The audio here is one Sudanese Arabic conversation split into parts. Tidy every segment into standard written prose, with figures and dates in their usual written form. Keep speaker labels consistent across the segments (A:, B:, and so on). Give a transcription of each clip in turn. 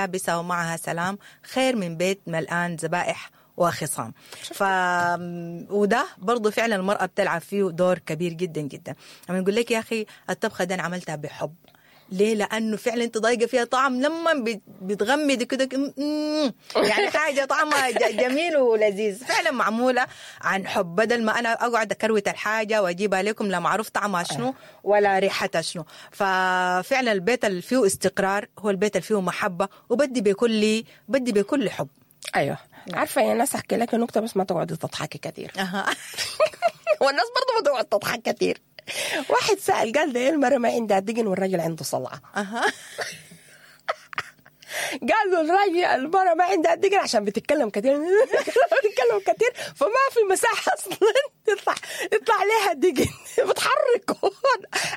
A: يابسة ومعها سلام خير من بيت ملآن ذبائح وخصام. ف وده برضه فعلا المرأة بتلعب فيه دور كبير جدا جدا. لما نقول لك يا أخي الطبخة دي أنا عملتها بحب، ليه؟ لأنه فعلا أنت ضايقة فيها طعم لما بتغمدي كده يعني حاجة طعمها جميل ولذيذ، فعلا معمولة عن حب، بدل ما أنا أقعد أكروت الحاجة وأجيبها لكم لا معروف طعمها شنو ولا ريحتها شنو. ففعلا البيت اللي فيه استقرار هو البيت اللي فيه محبة، وبدي بكل بدي بكل حب.
B: ايوه عارفه يا ناس، احكي لك نكتة بس ما تقعدي تضحكي كثير. والناس برضه ما تقعد تضحك كثير. واحد سأل قال ده المرأة ما عندها دقن والراجل عنده صلعة. قال له الراجل المرأة ما عندها دقن عشان بتتكلم كثير، بتتكلم كثير فما في مساحة أصلا يطلع لها دقن، بتحركه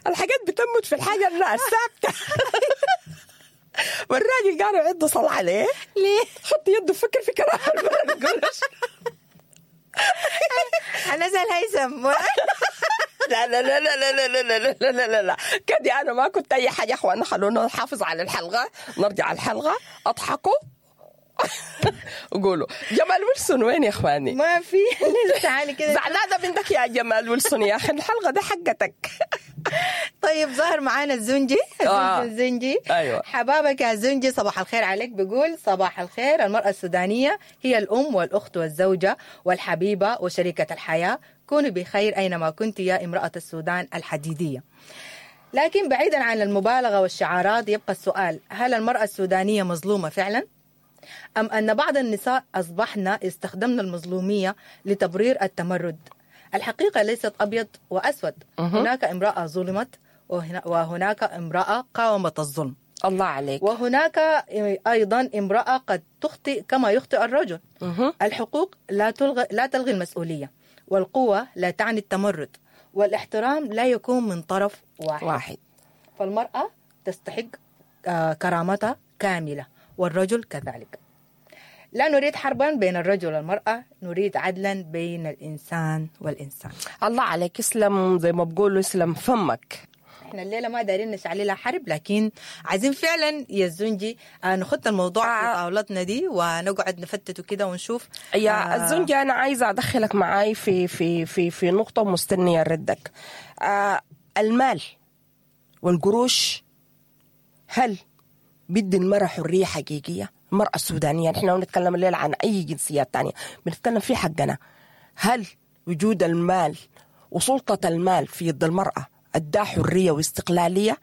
B: الحاجات بتموت في الحاجة الثابتة. والراجل قالوا عنده صلعة ليه؟
A: ليه؟
B: حط يده فكر في كلام المرأة.
A: أنا زي الهيثم.
B: لا لا لا لا لا لا لا لا لا لا لا كدي أنا ما كنت أي حاجة. أخوانا خلونا نحافظ على الحلقة، نرجع الحلقة. أضحكوا وقولوا جمال ويلسون وين يا إخواني؟
A: ما في. تعالي كده.
B: زعلانة منك يا جمال ويلسون يا أخي، الحلقة دي حقتك.
A: طيب ظهر معانا الزنجي. الزنجي.
B: أيوة.
A: حبابك يا زنجي، صباح الخير عليك. بيقول صباح الخير، المرأة السودانية هي الأم والأخت والزوجة والحبيبة وشريكة الحياة، كوني بخير أينما كنت يا امرأة السودان الحديدية. لكن بعيدا عن المبالغة والشعارات يبقى السؤال، هل المرأة السودانية مظلومة فعلا؟ أم أن بعض النساء أصبحن يستخدمن المظلومية لتبرير التمرد؟ الحقيقة ليست أبيض وأسود. هناك امرأة ظلمت وهناك امرأة قاومت الظلم.
B: الله عليك.
A: وهناك أيضا امرأة قد تخطئ كما يخطئ الرجل. الحقوق لا تلغي المسؤولية، والقوة لا تعني التمرد، والاحترام لا يكون من طرف واحد. فالمرأة تستحق كرامتها كاملة والرجل كذلك. لا نريد حربا بين الرجل والمرأة، نريد عدلا بين الإنسان والإنسان.
B: الله عليك، اسلم زي ما بقولوا، اسلم فمك.
A: احنا الليلة ما دارين نشعل حرب، لكن عايزين فعلا يا الزنجي نخط الموضوع في طاولتنا دي ونقعد نفتته كده ونشوف.
B: يا الزنجي أنا عايزة أدخلك معاي في في في في نقطة مستنية ردك. المال والقروش هل بدي المرأة حرية حقيقية؟ المرأة السودانية، نحن نتكلم الليلة عن أي جنسيات تانية، بنتكلم في حقنا. هل وجود المال وسلطة المال في يد المرأة أدى حرية واستقلالية؟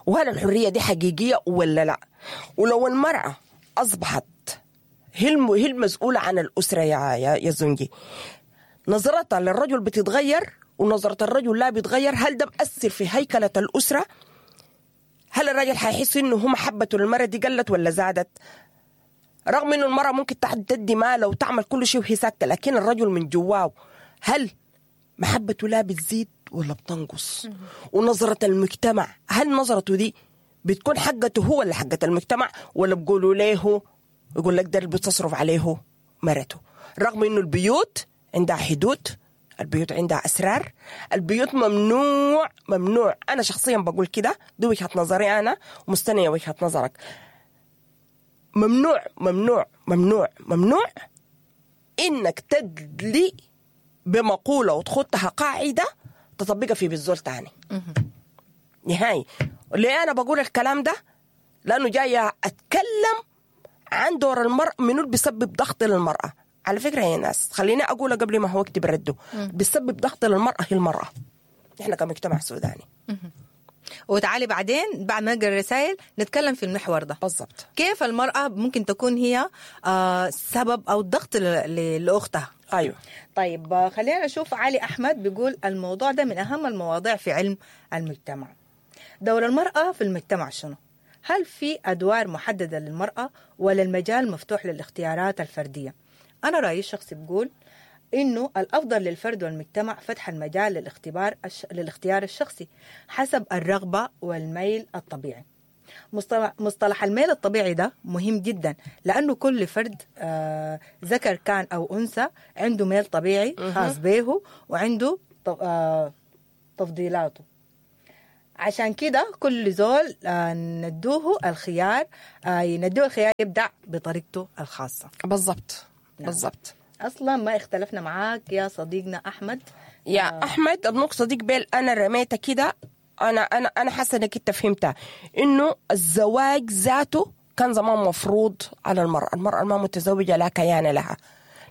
B: وهل الحرية دي حقيقية ولا لا؟ ولو المرأة أصبحت هي المسؤولة عن الأسرة يا زنجي، نظرتها للرجل بتتغير ونظرة الرجل لا بتغير. هل ده بأثر في هيكلة الأسرة؟ هل الرجل حيحس إنه هو محبته للمرأة دي قلت ولا زادت؟ رغم إنه المرأة ممكن تدي ماله وتعمل كل شيء وهي ساكتة، لكن الرجل من جواه هل محبته لا بتزيد ولا بتنقص؟ ونظرة المجتمع، هل نظرته دي بتكون حقته هو ولا حقة المجتمع؟ ولا بيقولوا ليه يقول لك ده اللي بتصرف عليه مرته؟ رغم إنه البيوت عندها حدود، البيوت عندها أسرار، البيوت ممنوع ممنوع. أنا شخصيا بقول كده، دي وجهة نظري أنا ومستنية وجهة نظرك. ممنوع ممنوع ممنوع ممنوع إنك تدلي بمقولة وتخطها قاعدة تطبقها في بالزول تاني نهائي. ليه أنا بقول الكلام ده؟ لأنه جاية أتكلم عن دور المرأة، منو اللي بيسبب ضغط للمرأة. على فكرة يا ناس، خليني أقولها قبل ما هو يكتب رده، بيسبب ضغط للمرأة هي المرأة، إحنا كمجتمع سوداني.
A: وتعالي بعدين بعد ما نقرأ الرسائل نتكلم في المحور ده
B: بالضبط،
A: كيف المرأة ممكن تكون هي سبب أو ضغط لأختها.
B: أيوة.
A: طيب خلينا نشوف علي أحمد بيقول الموضوع ده من أهم المواضيع في علم المجتمع. دور المرأة في المجتمع شنو؟ هل في أدوار محددة للمرأة ولا المجال مفتوح للاختيارات الفردية؟ أنا رأيي الشخصي بقول إنه الأفضل للفرد والمجتمع فتح المجال للاختيار الشخصي حسب الرغبة والميل الطبيعي. مصطلح الميل الطبيعي ده مهم جدا، لأنه كل فرد ذكر كان أو أنثى عنده ميل طبيعي خاص به وعنده تفضيلاته. عشان كده كل زول ندوه الخيار، ندوه الخيار يبدع بطريقته الخاصة.
B: بالضبط. نعم. بالضبط.
A: أصلا ما اختلفنا معاك يا صديقنا أحمد.
B: يا أحمد النقطة دي قبل أنا رميتها كده، أنا حاسة إنك أنت فهمتها، إنه الزواج ذاته كان زمان مفروض على المرأة، المرأة ما متزوجة لا كيان لها.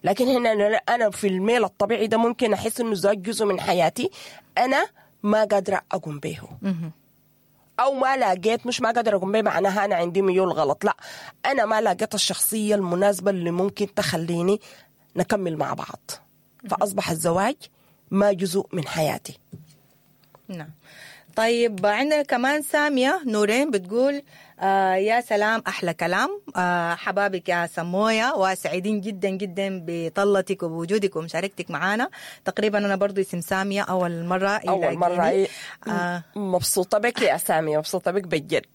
B: لكن هنا أنا في الميل الطبيعي ده ممكن أحس إنه الزواج جزء من حياتي أنا ما قادرة أقوم به، أو ما لاقيت، مش ما قادرة أقوم به معناها أنا عندي ميول غلط، لا أنا ما لاقيت الشخصية المناسبة اللي ممكن تخليني نكمل مع بعض، فأصبح الزواج ما جزء من حياتي.
A: نعم. طيب عندنا كمان سامية نورين بتقول يا سلام أحلى كلام، حبابك يا سموية، وسعيدين جدا جدا بطلتك وبوجودك ومشاركتك معنا. تقريبا أنا برضو اسم سامية أول مرة
B: أول مرة مبسوطة بك يا سامية، مبسوطة بك بجد.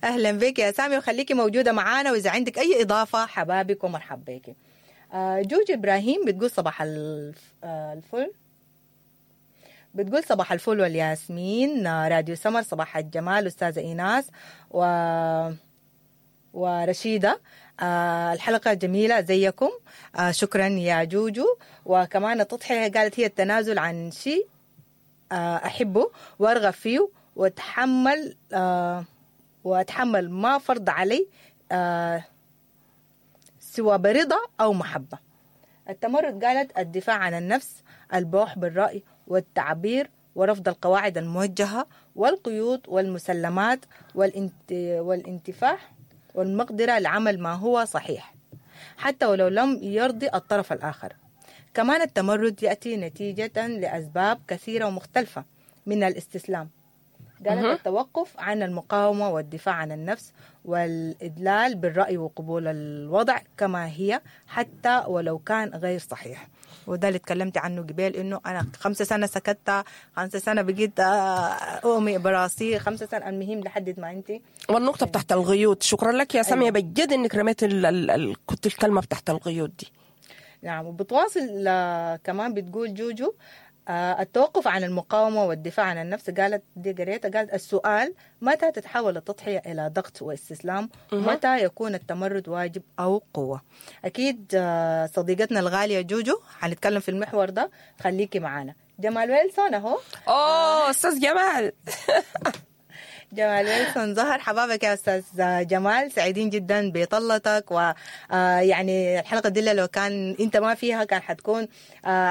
A: أهلا بك يا سامية، وخليكي موجودة معنا، وإذا عندك أي إضافة حبابك ومرحب بك. جوج إبراهيم بتقول صباح الفل، بتقول صباح الفل والياسمين، راديو سمر، صباح الجمال أستاذة إيناس ورشيدة، الحلقة جميلة زيكم، شكرا يا جوجو. وكمان التضحية قالت هي التنازل عن شيء أحبه وأرغب فيه وأتحمل وأتحمل ما فرض علي سوى برضا أو محبة. التمرد قالت الدفاع عن النفس، البوح بالرأي والتعبير، ورفض القواعد الموجهة والقيود والمسلمات والانتفاح والمقدرة لعمل ما هو صحيح حتى ولو لم يرضي الطرف الآخر. كمان التمرد يأتي نتيجة لأسباب كثيرة ومختلفة من الاستسلام. قالت التوقف عن المقاومة والدفاع عن النفس والإدلال بالرأي وقبول الوضع كما هي حتى ولو كان غير صحيح. وده اللي تكلمت عنه قبل، إنه أنا 5 سنة سكتت، 5 سنة بقيت أؤمي براسي، 5 سنة، المهم لحد ما أنت.
B: والنقطة بتاعت الغيوت، شكرا لك يا سامية. أيوة. بجد إنك رميت كنت الكلمة بتاعت الغيوت دي.
A: نعم. وبتواصل كمان بتقول جوجو التوقف عن المقاومة والدفاع عن النفس. قالت دي قريتها، قالت السؤال متى تتحول التضحية إلى ضغط واستسلام، متى يكون التمرد واجب أو قوة. أكيد صديقتنا الغالية جوجو حنتكلم في المحور ده، خليكي معانا. جمال ويلسون أهو.
B: أوه أستاذ جمال.
A: جمال ويلسون ظهر. حبابك يا أستاذ جمال، سعيدين جدا بطلتك. ويعني الحلقة دي لو كان أنت ما فيها كان حتكون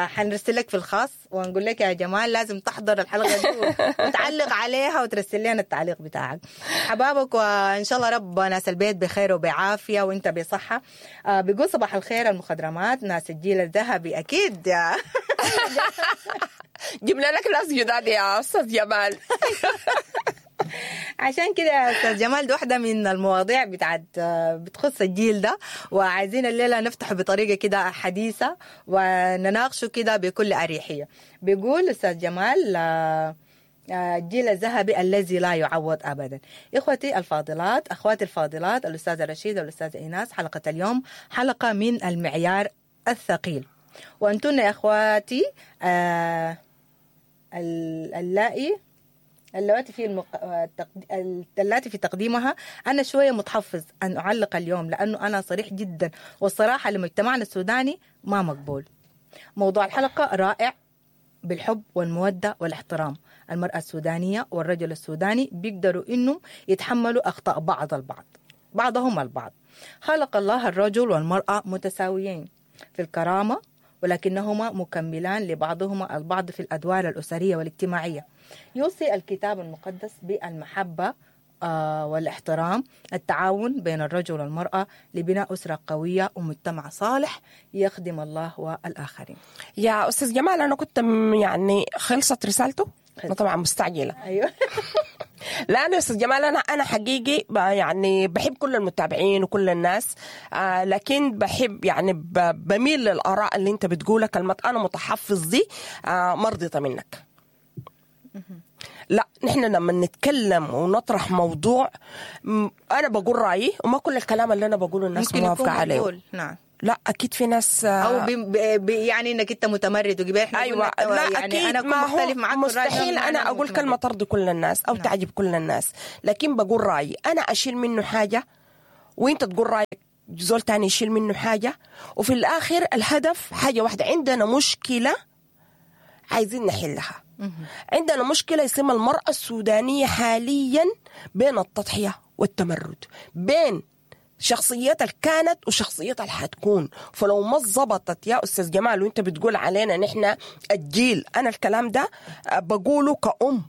A: حنرسل لك في الخاص ونقول لك يا جمال لازم تحضر الحلقة دي وتعلق عليها وترسل لنا التعليق بتاعك. حبابك، وإن شاء الله رب ناس البيت بخير وبعافية وإنت بصحة. بيقول صباح الخير المخضرمات، ناس الجيل الذهبي. أكيد يا
B: جبنا لك ناس جداد يا أستاذ جمال.
A: عشان كده يا أستاذ جمال دي واحدة من المواضيع بتاعت بتخص الجيل ده، وعايزين الليلة نفتح بطريقة كده حديثة ونناقشه كده بكل أريحية. بيقول أستاذ جمال الجيل الذهبي الذي لا يعوض أبدا. إخوتي الفاضلات، أخواتي الفاضلات، الأستاذة رشيدة والأستاذة إيناس، حلقة اليوم حلقة من المعيار الثقيل. وأنتن يا أخواتي اللائي اللواتي في اللاتي في تقديمها أنا شوية متحفظ أن أعلق اليوم، لأنه أنا صريح جدا، والصراحة لمجتمعنا السوداني ما مقبول. موضوع الحلقة رائع بالحب والمودة والاحترام. المرأة السودانية والرجل السوداني بيقدروا إنه يتحملوا أخطاء بعضهم البعض. خلق الله الرجل والمرأة متساويين في الكرامة، ولكنهما مكملان لبعضهما البعض في الأدوار الأسرية والاجتماعية. يوصي الكتاب المقدس بالمحبة والاحترام، التعاون بين الرجل والمرأة لبناء أسرة قوية ومجتمع صالح يخدم الله والآخرين.
B: يا أستاذ جمال، أنا كنت يعني خلصت رسالته، أنا طبعا مستعجلة.
A: أيوة.
B: لا أنا أستاذ جمال، أنا حقيقي يعني بحب كل المتابعين وكل الناس، لكن بحب يعني بميل للآراء اللي أنت بتقولها. كلمة أنا متحفظ دي مرضية منك. لا، نحن لما نتكلم ونطرح موضوع أنا بقول رأيي، وما كل الكلام اللي أنا بقوله الناس موافقة عليه.
A: نعم.
B: لا اكيد في ناس
A: او بي يعني انك انت متمرد وقبل احنا
B: ايوه
A: قلنا
B: لا
A: يعني
B: اكيد
A: انا اكون
B: ما هو
A: مختلف معاك في الرأي ده
B: مستحيل
A: معناه
B: انا اقول
A: متمرد.
B: كلمة ترضي كل الناس او
A: نعم.
B: تعجب كل الناس، لكن بقول رايي، انا اشيل منه حاجة وانت تقول رايك، زول تاني يشيل منه حاجة، وفي الاخر الهدف حاجة واحدة. عندنا مشكلة عايزين نحلها. عندنا مشكلة اسمها المراة السودانية حاليا بين التضحية والتمرد، بين شخصيتها اللي كانت وشخصيتها اللي حتكون. فلو ما ظبطت يا استاذ جمال، وانت بتقول علينا نحن الجيل، انا الكلام ده بقوله كأم،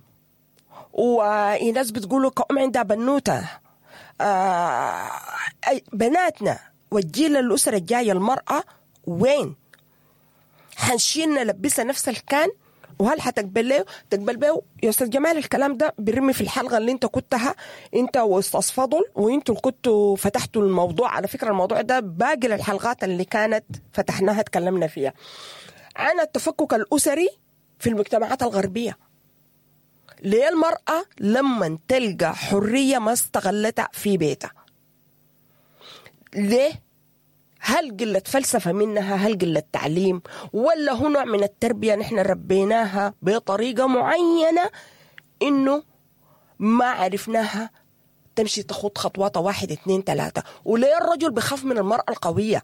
B: وناس بتقوله كأم عندها بنوتة، بناتنا والجيل الأسرة الجاية، المرأة وين حنشيل نلبسها نفس الكان؟ وهل حتقبل له تقبل به يا استاذ جمال؟ الكلام ده برمي في الحلقة اللي انت كنتها انت واستاذ فضل، وانتوا اللي كنتوا فتحتوا الموضوع. على فكرة الموضوع ده باقي للحلقات اللي كانت فتحناها تكلمنا فيها عن التفكك الاسري في المجتمعات الغربية. ليه المراة لما تلقى حرية ما استغلتها في بيتها؟ ليه؟ هل قلة فلسفة منها؟ هل قلة تعليم؟ ولا هو نوع من التربية نحن ربيناها بطريقة معينة إنه ما عرفناها تمشي تخوض خطواتها 1 2 3؟ وليه الرجل بخاف من المرأة القوية؟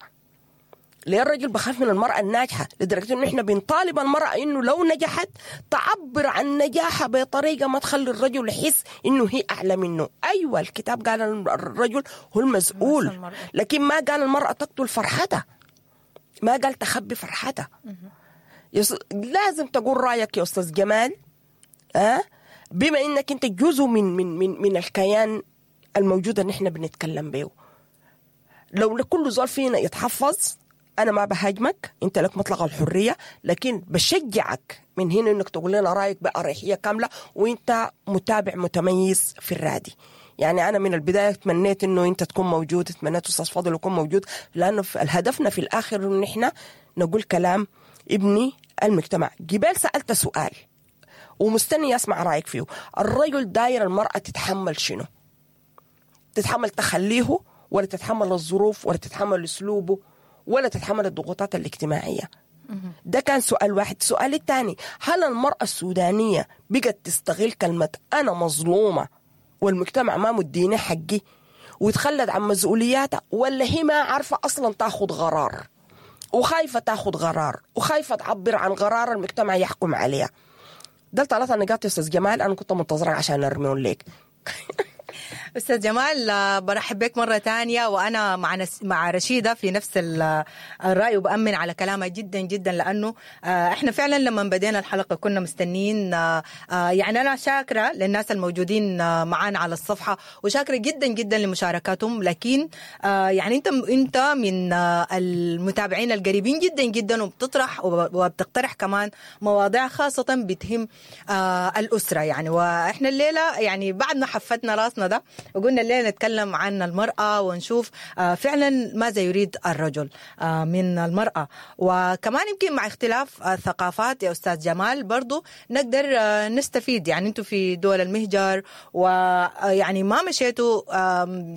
B: ليه الرجل بخاف من المرأة الناجحة؟ لدرجة إنه إحنا بنطالب المرأة إنه لو نجحت تعبر عن نجاحها بطريقة ما تخلي الرجل يحس إنه هي أعلى منه. أيوة الكتاب قال الرجل هو المسؤول، لكن ما قال المرأة تقتل فرحتها، ما قال تخبي فرحتها. لازم تقول رأيك يا أستاذ جمال، بما إنك أنت جزء من من من من الكيان الموجود اللي إحنا بنتكلم به. لو كل زول فينا يتحفظ، أنا ما بهاجمك، أنت لك مطلق الحرية، لكن بشجعك من هنا إنك تقول لنا رأيك بأريحية كاملة، وأنت متابع متميز في الرادي. يعني أنا من البداية تمنيت إنه أنت تكون موجود، تمنيت أستاذ فاضل يكون موجود، لأنه هدفنا في الآخر إنه إحنا نقول كلام ابني المجتمع. جبال سألت سؤال ومستني أسمع رأيك فيه. الرجل داير المرأة تتحمل شنو؟ تتحمل تخليه، ولا تتحمل الظروف، ولا تتحمل أسلوبه، ولا تتحمل الضغوطات الاجتماعية؟ ده كان سؤال واحد. السؤال الثاني، هل المرأة السودانية بقت تستغل كلمة أنا مظلومة والمجتمع ما مديني حقي وتخلت عن مسؤولياتها، ولا هي ما عارفة أصلا تاخد قرار، وخايفة تاخد قرار، وخايفة تعبر عن قرار المجتمع يحكم عليها؟ ده 3 نقاط يا أستاذ جمال، أنا كنت منتظرة عشان أرميهم لك.
A: أستاذ جمال، برحب بك مرة تانية، وأنا مع رشيدة في نفس الرأي، وبأمن على كلامها جدا جدا، لأنه إحنا فعلا لما بدينا الحلقة كنا مستنين. يعني أنا شاكرة للناس الموجودين معانا على الصفحة، وشاكرة جدا جدا لمشاركاتهم، لكن يعني أنت من المتابعين القريبين جدا جدا، وبتطرح وبتقترح كمان مواضيع خاصة بتهم الأسرة يعني. وإحنا الليلة يعني بعد ما حفتنا راسنا ده وقلنا الليلة نتكلم عن المرأة ونشوف فعلا ماذا يريد الرجل من المرأة، وكمان يمكن مع اختلاف الثقافات يا أستاذ جمال برضو نقدر نستفيد. يعني أنتوا في دول المهجر ويعني ما مشيتوا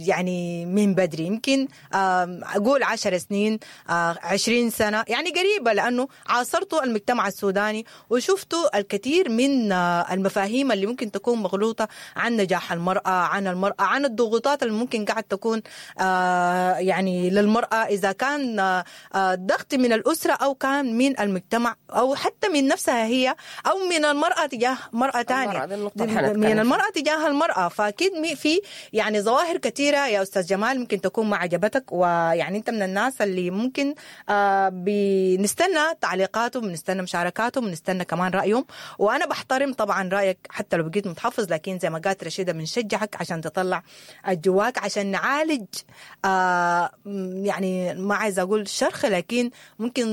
A: يعني من بدري، يمكن أقول 10 سنين 20 سنة يعني قريبة، لأنه عاصرتوا المجتمع السوداني وشفتوا الكثير من المفاهيم اللي ممكن تكون مغلوطة عن نجاح المرأة، عن المرأة، عن الضغوطات اللي ممكن قاعد تكون يعني للمرأة، إذا كان ضغط من الأسرة أو كان من المجتمع أو حتى من نفسها هي، أو من المرأة تجاه مرأة تانية، من المرأة تجاه المرأة. فأكيد في يعني ظواهر كثيرة يا أستاذ جمال ممكن تكون ما عجبتك، ويعني أنت من الناس اللي ممكن بنستنى تعليقاتهم، بنستنى مشاركاتهم، بنستنى كمان رأيهم، وأنا بحترم طبعا رأيك حتى لو بقيت متحفظ، لكن زي ما قالت رشيدة بنشجعك عشان تطلع جواك، عشان نعالج يعني ما عايزة أقول شرخ، لكن ممكن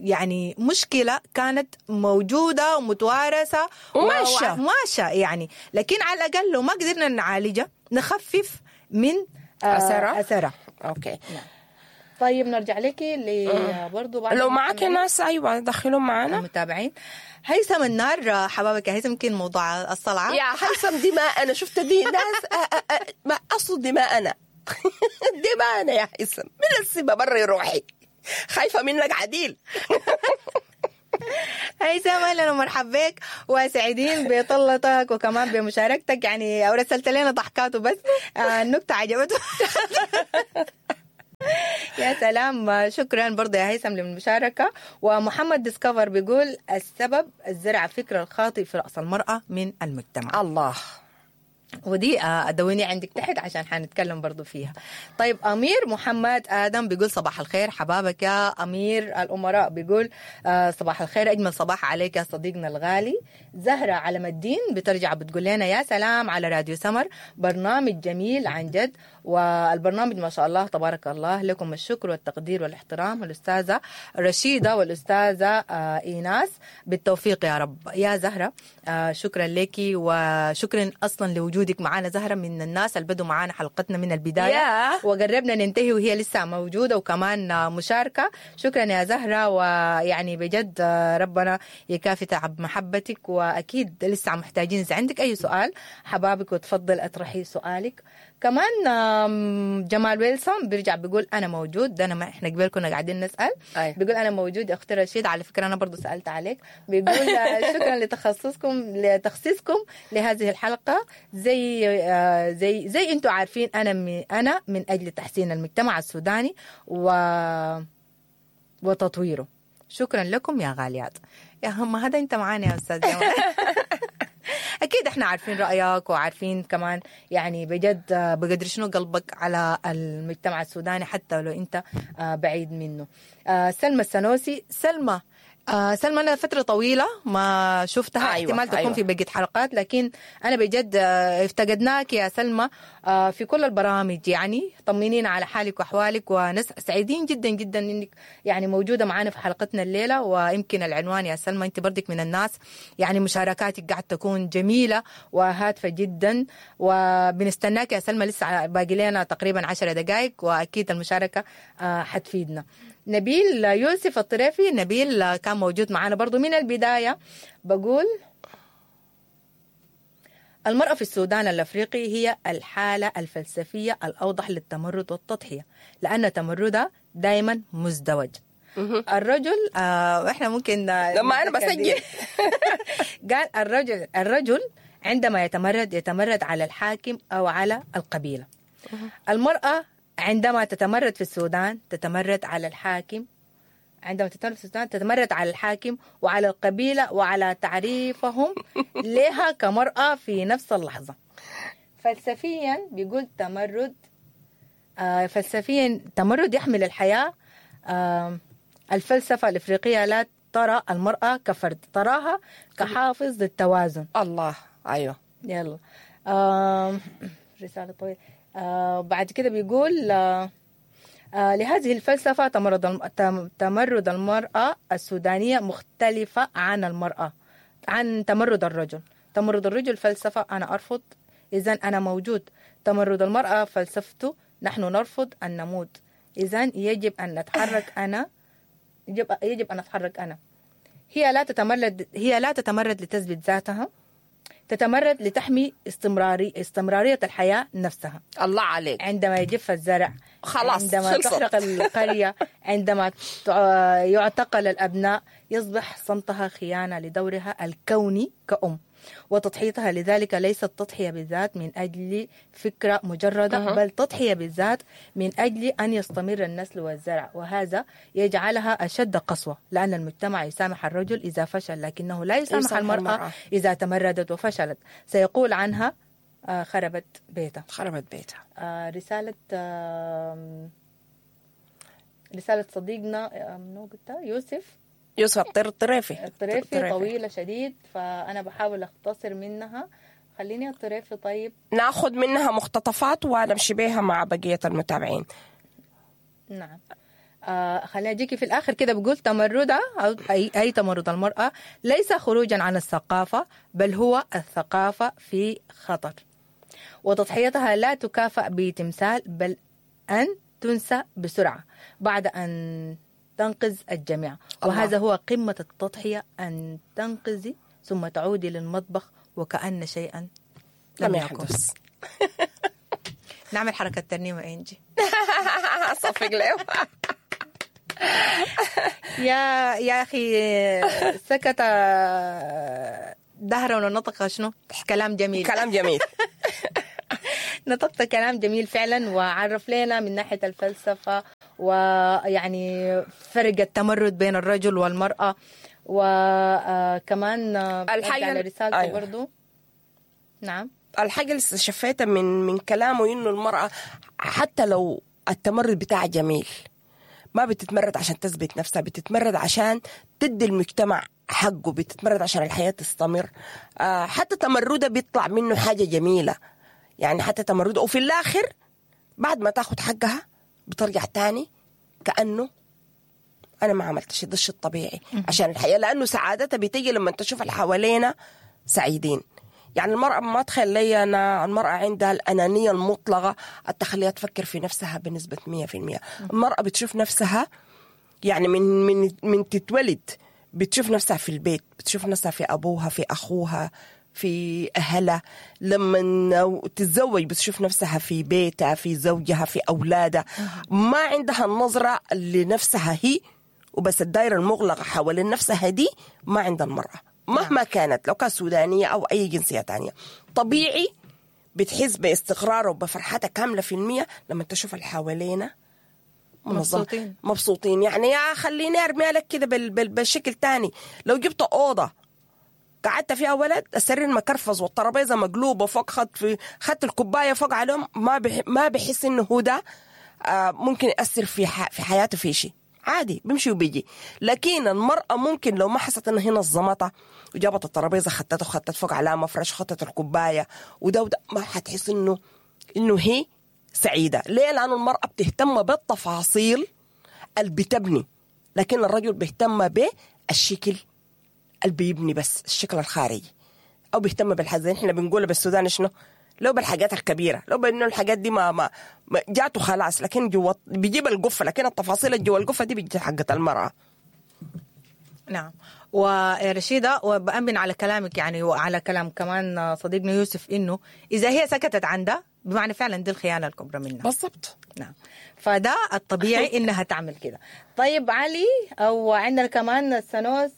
A: يعني مشكلة كانت موجودة ومتوارثة وماشية يعني، لكن على الأقل لو ما قدرنا نعالجها نخفف من أثرها.
B: okay.
A: نعم. طيب نرجع لك برضو بعد
B: لو معك ناس. ايوه دخلهم معنا
A: المتابعين. هيثم النار، حبابك يا هيثم، يمكن موضوع الصلعه
B: يا هيثم دي ما انا شفت دي ناس ما اصل دي ما انا دي ما انا يا هيثم، من السبب بري روحي. خايفة منك عديل.
A: هيثم اهلا ومرحبا بك، وسعيدين بطلتك وكمان بمشاركتك، يعني او رسلت لنا ضحكاته بس النكتة عجبته. يا سلام، شكرا برضه يا هيثم للمشاركة. ومحمد ديسكفر بيقول السبب الزرع فكرة الخاطئ في راس المراة من المجتمع.
B: الله،
A: ودي ادوني عندك تحت عشان حنتكلم برضو فيها. طيب امير محمد ادم بيقول صباح الخير حبابك يا امير الامراء، بيقول صباح الخير، اجمل صباح عليك يا صديقنا الغالي. زهره علم الدين بترجع بتقول لنا يا سلام على راديو سمر، برنامج جميل عن جد، والبرنامج ما شاء الله تبارك الله، لكم الشكر والتقدير والاحترام الاستاذة رشيده والاستاذه ايناس، بالتوفيق يا رب. يا زهره شكرا لك، وشكرا اصلا لوجودك معانا. زهرة من الناس اللي بدوا معانا حلقتنا من البداية وقربنا ننتهي وهي لسه موجودة وكمان مشاركة. شكرا يا زهرة، ويعني بجد ربنا يكافي تعب محبتك، وأكيد لسه محتاجين إذا عندك أي سؤال حبابك وتفضل أطرحي سؤالك. كمان جمال ويلسون بيرجع بيقول أنا موجود، ده أنا ما إحنا قبل كنا قاعدين نسأل. أي. بيقول أنا موجود يا أختي رشيد، على فكرة أنا برضو سألت عليك. بيقول شكرا لتخصيصكم لهذه الحلقة، زي زي زي أنتم عارفين أنا من أجل تحسين المجتمع السوداني وتطويره. شكرا لكم يا غاليات. يا هم هذا أنت معانا يا أستاذ جمال. أكيد إحنا عارفين رأيك وعارفين كمان يعني بجد بقدر شنو قلبك على المجتمع السوداني حتى لو أنت بعيد منه. سلمى السنوسي، سلمى سلمى أنا فترة طويلة ما شفتها. أيوة، احتمال تكون في بقية حلقات، لكن أنا بجد افتقدناك يا سلمى في كل البرامج، يعني طمنينا على حالك وأحوالك، ونس سعيدين جدا جدا إنك يعني موجودة معنا في حلقتنا الليلة. ويمكن العنوان يا سلمى أنت بردك من الناس يعني مشاركاتك قاعد تكون جميلة وهادفة جدا، وبنستناك يا سلمى، لسه باقي لنا تقريبا 10 دقائق وأكيد المشاركة حتفيدنا. نبيل يوسف الطريفي، نبيل كان موجود معنا برضو من البداية، بقول المرأة في السودان الأفريقي هي الحالة الفلسفية الأوضح للتمرد والتضحية، لأن تمردها دايما مزدوج. الرجل احنا ممكن
B: لما أنا بسجل
A: قال الرجل عندما يتمرد يتمرد على الحاكم أو على القبيلة. المرأة عندما تتمرد في السودان تتمرد على الحاكم، عندما تتمرد في السودان تتمرد على الحاكم وعلى القبيلة وعلى تعريفهم لها كمرأة في نفس اللحظة. فلسفيا بيقول تمرد، فلسفيا تمرد يحمل الحياة. الفلسفة الإفريقية لا ترى المرأة كفرد، تراها كحافظ للتوازن.
B: الله، أيوه،
A: يلا رسالة طويلة. بعد كده بيقول لهذه الفلسفة تمرد المرأة السودانية مختلفة عن المرأة، عن تمرد الرجل. تمرد الرجل فلسفة أنا أرفض إذن أنا موجود، تمرد المرأة فلسفته نحن نرفض أن نموت، إذن يجب أن نتحرك أنا، يجب أن أتحرك أنا. هي لا تتمرد لتثبت ذاتها، تتمرد لتحمي استمرارية الحياة نفسها.
B: الله عليك.
A: عندما يجف الزرع،
B: خلاص،
A: عندما
B: خلصت.
A: تحرق القرية، عندما يعتقل الأبناء، يصبح صمتها خيانة لدورها الكوني كأم وتضحيتها. لذلك ليست تضحية بالذات من أجل فكرة مجردة، بل تضحية بالذات من أجل أن يستمر النسل والزرع، وهذا يجعلها أشد قسوة، لأن المجتمع يسامح الرجل إذا فشل، لكنه لا يسامح المرأة إذا تمردت وفشلت، سيقول عنها خربت بيتها.
B: خربت بيتها.
A: رسالة صديقنا يوسف
B: الطريفي.
A: الطريفي طويلة شديد، فأنا بحاول أختصر منها. خليني الطريفي طيب
B: ناخذ منها مقتطفات ونمشي بيها مع بقية المتابعين.
A: نعم، خليني أجيكي في الآخر كده. بقول تمردها أو أي تمرد المرأة ليس خروجا عن الثقافة، بل هو الثقافة في خطر، وتضحيتها لا تكافأ بتمثال، بل أن تنسى بسرعة بعد أن تنقذ الجميع. وهذا هو قمة التضحية، أن تنقذي ثم تعودي للمطبخ وكأن شيئا لم يحدث. نعمل حركة ترنيمة إنجي.
B: صفق له.
A: يا اخي سكت دهرا ونطق شنو؟ كلام جميل.
B: كلام جميل.
A: نطقت كلام جميل فعلا، وعرف لنا من ناحية الفلسفة ويعني فرق التمرد بين الرجل والمرأة، وكمان
B: الحاجة
A: على رسالته.
B: أيوة.
A: برضو نعم.
B: الحاجة اللي استشفيتها من كلامه إنه المرأة حتى لو التمرد بتاعها جميل، ما بتتمرد عشان تثبت نفسها، بتتمرد عشان تدي المجتمع حقه، بتتمرد عشان الحياة تستمر. حتى تمردها بيطلع منه حاجة جميلة، يعني حتى تمرده، وفي الآخر بعد ما تاخد حقها بترجع تاني كأنه أنا ما عملت شيء، ده الشيء الطبيعي عشان الحياة، لأنه سعادتها بتيجي لما تشوف اللي حوالينا سعيدين. يعني المرأة ما تخيل لي أنا المرأة عندها الأنانية المطلقة التخليها تفكر في نفسها بنسبة 100%. المرأة بتشوف نفسها يعني من من من تتولد بتشوف نفسها في البيت، بتشوف نفسها في أبوها، في أخوها، في أهلها. لما تتزوج بتشوف نفسها في بيتها، في زوجها، في أولادها. ما عندها النظرة لنفسها هي وبس، الدائرة المغلقة حوالين نفسها دي ما عند المرأة مهما كانت، لو كانت سودانية أو أي جنسية تانية. طبيعي بتحس باستقرار وبفرحتها كاملة في المية لما تشوف اللي حوالينا منظم.
A: مبسوطين.
B: مبسوطين. يعني يا خليني ارميها لك كده بالشكل تاني، لو جبت أوضة قعدت فيها ولد، السرير مكرفز والترابيزة مقلوبة فوق، خدت الكوباية فوق عليهم، ما بحس إنه هو ده ممكن يأثر في حياته في شيء، عادي بيمشي وبيجي. لكن المرأة ممكن لو ما حست إن هي نظمتها وجابت الترابيزة خدتها وخدت فوق عليها مفرش، خدت الكوباية وده، ما حتحس إنه هي سعيدة. ليه؟ لأنه المرأة بتهتم بالتفاصيل اللي بتبني، لكن الرجل بيهتم بالشكل اللي بيبني بس، الشكل الخارجي، او بيهتم بالحاجات احنا بنقولها بالسودان شنو، لو بالحاجات الكبيرة، لو بانه الحاجات دي ما جاته خلاص، لكن جوا بيجيب القفه، لكن التفاصيل اللي جوا القفه دي بتجي حقت المراة.
A: نعم. ورشيدة، وبأمن على كلامك يعني وعلى كلام كمان صديقنا يوسف، إنه إذا هي سكتت عن ده بمعنى فعلا دي الخيانة الكبرى منها.
B: بالضبط.
A: نعم، فده الطبيعي إنها تعمل كده. طيب علي، أو عندنا كمان السنوس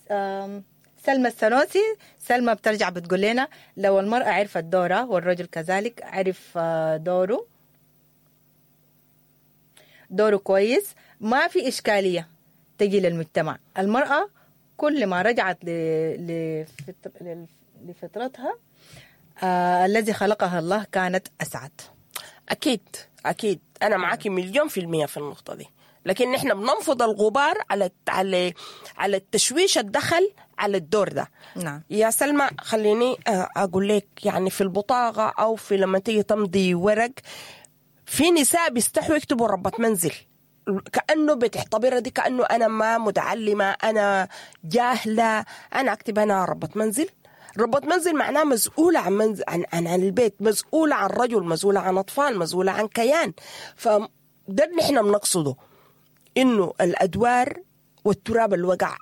A: سلمى السنوسي. سلمى بترجع بتقول لنا لو المرأة عرفت دورها والرجل كذلك عرف دوره كويس، ما في إشكالية تجي للمجتمع. المرأة كل ما رجعت لفطرتها الذي خلقها الله كانت أسعد.
B: أكيد أكيد، أنا معاكي 1,000,000% في النقطة دي، لكن نحن بننفض الغبار على على على التشويش الدخل على الدور ده.
A: نعم.
B: يا سلمى خليني أقول لك، يعني في البطاقة أو في لما تيجي تمضي ورق، في نساء بيستحوا يكتبوا ربة منزل، كأنه بتعتبرها دي كأنه أنا ما متعلمة، أنا جاهلة، أنا أكتب أنا ربة منزل. ربة منزل معناه مسؤولة عن منزل، عن عن عن البيت، مسؤولة عن رجل، مسؤولة عن أطفال، مسؤولة عن كيان. فده اللي نحن بنقصده، إنه الأدوار والتراب اللي وقع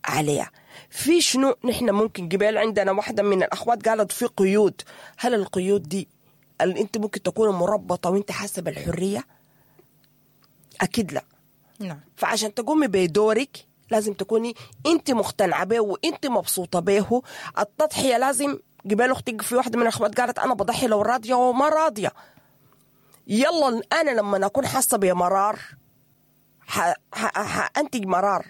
B: عليها في شنو. نحن ممكن قبل عندنا واحدة من الأخوات قالت في قيود، هل القيود دي اللي أنت ممكن تكون مربطة وأنت حاسة بالحرية؟ أكيد لا.
A: نعم.
B: فعشان تقومي بدورك لازم تكوني أنت مقتنعة به وأنت مبسوطة به. التضحية لازم، قبل أختي في واحدة من الأخوات قالت أنا بضحي لو راضية وما راضية. يلا أنا لما أكون حاسة بمرار حأنتج مرار،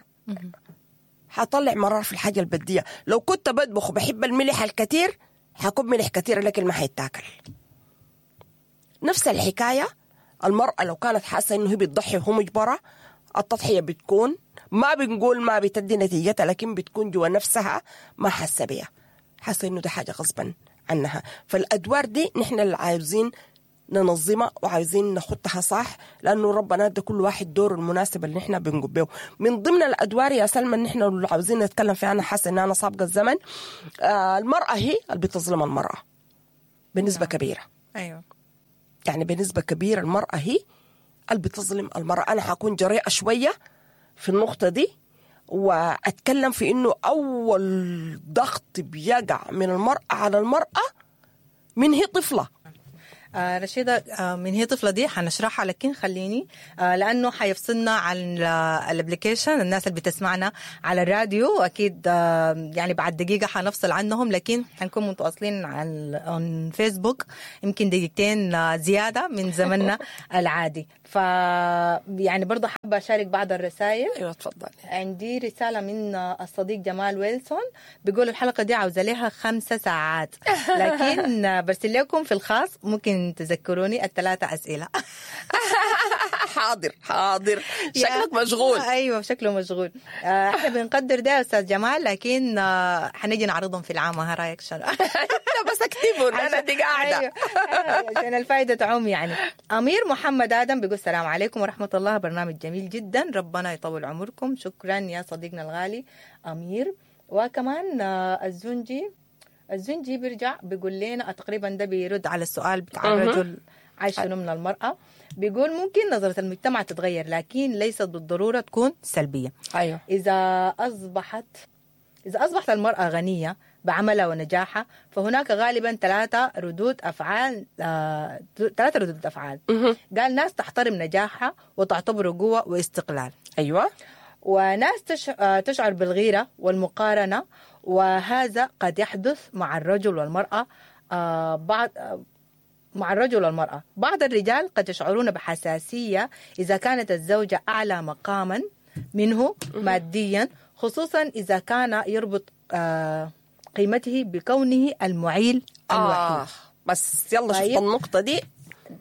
B: حطلع مرار في الحاجة البدية. لو كنت بطبخ وبحب الملح الكثير حكب ملح كثير لكن ما حيتاكل. نفس الحكاية المرأة لو كانت حاسة إنه هي بتضحي وهو مجبرة، التضحية بتكون، ما بنقول ما بتدي نتيجتها، لكن بتكون جوا نفسها ما حاسة بيها، حاسة إنه ده حاجة غصبا عنها. فالأدوار دي نحن اللي عاوزين ننظمها وعايزين نخطها صح، لأنه ربنا ادى كل واحد دوره المناسب اللي نحن بنقوم به. من ضمن الأدوار يا سلمى اللي نحن اللي عاوزين نتكلم فيها، أنا حاسة إن أنا سابقة الزمن، المرأة هي اللي بتظلم المرأة بنسبة كبيرة.
A: أيوة.
B: يعني بنسبة كبيرة المرأة هي اللي بتظلم المرأة. أنا حكون جريئة شوية في النقطة دي وأتكلم في إنه أول ضغط بيقع من المرأة على المرأة من هي طفلة.
A: رشيدة، من هي طفلة دي حنشرحها، لكن خليني لأنه حيفصلنا عن ال application، الناس اللي بتسمعنا على الراديو أكيد يعني بعد دقيقة حنفصل عنهم، لكن حنكون متواصلين على فيسبوك يمكن دقيقتين زيادة من زمننا العادي. ف يعني برضه حابة أشارك بعض الرسائل.
B: ايوه تفضل.
A: عندي رسالة من الصديق جمال ويلسون بيقول الحلقة دي عاوزة لها 5 ساعات، لكن برسل لكم في الخاص ممكن تذكروني ال3 أسئلة.
B: حاضر حاضر، شكلك مشغول.
A: ايوه شكله مشغول. احنا بنقدر ده يا استاذ جمال، لكن حنيجي نعرضهم في العام. ها رايك شنو؟
B: بس اكتبهم انا دي قاعدة.
A: أيوة. عشان الفائدة تعوم يعني. امير محمد ادم بيقول السلام عليكم ورحمة الله، برنامج جميل جدا، ربنا يطول عمركم. شكرا يا صديقنا الغالي امير. وكمان الزنجي بيرجع بيقول لنا تقريبا ده بيرد على السؤال بتاع الرجل عايش شنو من المرأة. بيقول ممكن نظرة المجتمع تتغير، لكن ليست بالضرورة تكون سلبية.
B: أيوة.
A: إذا أصبحت المرأة غنية بعملها ونجاحها، فهناك غالبا 3 ردود أفعال. 3 ردود أفعال. قال ناس تحترم نجاحها وتعتبره قوة واستقلال.
B: أيوة.
A: وناس تشعر بالغيرة والمقارنة، وهذا قد يحدث مع الرجل والمرأة. مع الرجل والمرأة بعض الرجال قد يشعرون بحساسية إذا كانت الزوجة أعلى مقاما منه ماديا، خصوصا إذا كان يربط قيمته بكونه المعيل الوحيد.
B: بس يلا
A: طيب.
B: شفت النقطة دي.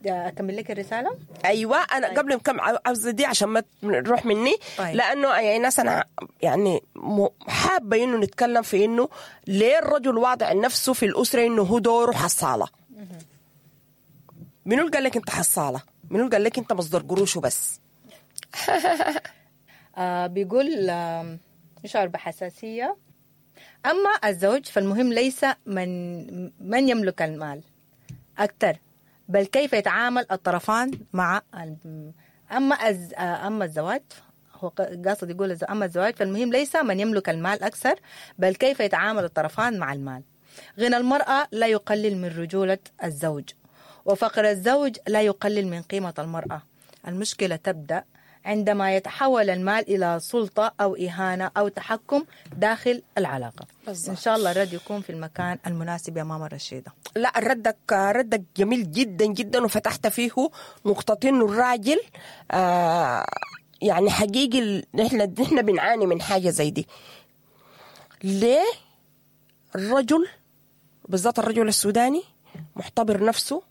A: أكمل لك الرسالة؟
B: أيوة أنا قبل ما كم عاوزة دي عشان ما تروح مني.
A: طيب.
B: لأنه يعني ناس أنا يعني حابة إنه نتكلم في إنه ليه الرجل واضع نفسه في الأسرة إنه هو دوره حصالة. منو قال لك أنت حصالة؟ منو قال لك أنت مصدر قروشه بس؟
A: بيقول يشعر بحساسية. أما الزوج فالمهم ليس من يملك المال أكثر، بل كيف يتعامل الطرفان مع أما الزواج، هو قاصد يقول أما الزواج فالمهم ليس من يملك المال أكثر، بل كيف يتعامل الطرفان مع المال. غنى المرأة لا يقلل من رجولة الزوج، وفقر الزوج لا يقلل من قيمة المرأة. المشكلة تبدأ عندما يتحول المال إلى سلطة أو إهانة أو تحكم داخل العلاقة.
B: بالزبط.
A: إن شاء الله الرد يكون في المكان المناسب يا ماما رشيدة.
B: لا ردك جميل جدا جدا، وفتحت فيه نقطتين. الراجل يعني حقيقي نحن بنعاني من حاجة زي دي. ليه الرجل بالذات الرجل السوداني معتبر نفسه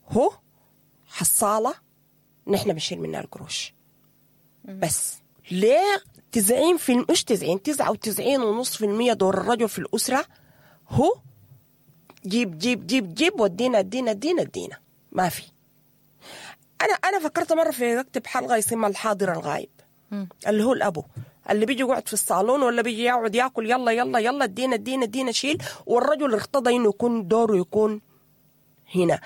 B: هو حصالة نحن بنشيل منها القروش بس؟ ليه 90 مش 90 99.5% دور الرجل في الأسرة هو جيب جيب جيب جيب ودينا ادينا ادينا ادينا. ما في. أنا فكرت مرة في أكتب حلقة يسمى الحاضر الغايب، اللي هو الأبو اللي بيجي يقعد في الصالون ولا بيجي يقعد ياكل يلا يلا يلا ادينا ادينا ادينا شيل، والرجل ارتضى إنه يكون دوره يكون هنا.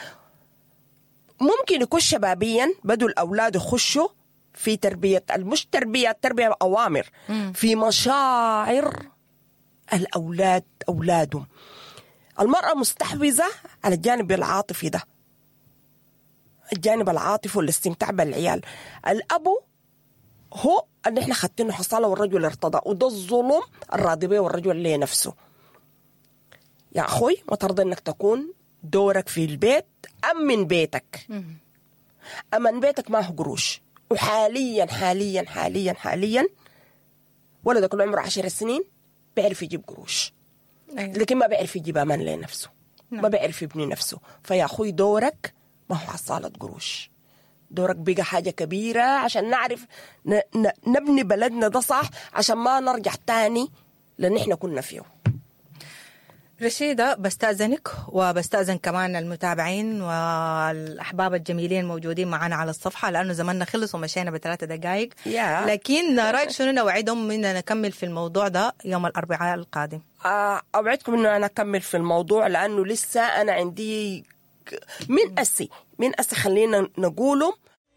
B: ممكن يكون شبابيا بدوا الأولاد يخشوا في تربية، مش تربية، تربية أوامر، في مشاعر الأولاد أولادهم. المرأة مستحوذة على الجانب العاطفي ده، الجانب العاطفي والاستمتاع بالعيال. الأبو هو اللي احنا خدتينه حصالة والرجل ارتضى، وده الظلم الراضي به والرجل اللي نفسه. يا أخوي ما ترضى إنك تكون دورك في البيت أمن بيتك. أمن بيتك ما هو قروش. وحاليا حاليا حاليا حاليا ولدك عمره 10 سنين بيعرف يجيب قروش.
A: أيوة.
B: لكن ما بيعرف يجيب أمان لنفسه.
A: نعم.
B: ما بيعرف يبني نفسه. فيا أخوي دورك ما هو حصالة قروش، دورك بقى حاجة كبيرة عشان نعرف نبني بلدنا ده صح، عشان ما نرجع تاني لأن احنا كنا فيه.
A: رشيدة بستأذنك وبستأذن كمان المتابعين والأحباب الجميلين الموجودين معنا على الصفحة، لأنه زماننا خلص ومشينا ب3 دقائق. لكن رأيك شنو نوعدهم إننا نكمل في الموضوع ده يوم الأربعاء القادم؟
B: أوعدكم إنه أنا أكمل في الموضوع، لأنه لسه أنا عندي من أسي خلينا نقوله